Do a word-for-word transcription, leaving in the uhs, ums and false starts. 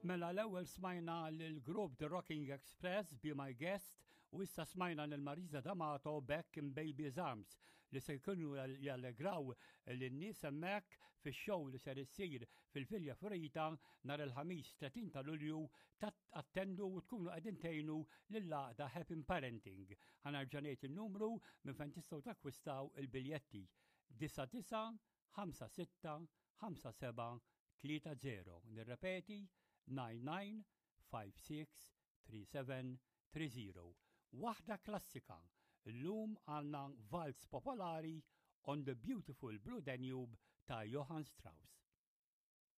Mela l-ewwel smajna l-grupp The Rocking Express, Be My Guest, u issa smajna lil Marisa D'Amato, Back in Baby's Arms, li se jkunu jallegraw lin-nies hemmhekk fix-show li ser issir fil-Villa Fiorita nhar il-Ħamis tletin ta' Lulju. Attendu u tkunu qegħdin tgħinu lill-għaqda Happy Parenting. Ħa nerġa' ngħid il-numru minn fejn tistgħu takkwistaw il-biljetti: disgħa disgħa ħamsa sitta ħamsa sebgħa tlieta żero. Nirrepeti: nine nine five six three seven three zero. Waħda klassika, illum għandna valz popolari, On the Beautiful Blue Danube ta' Johann Strauss.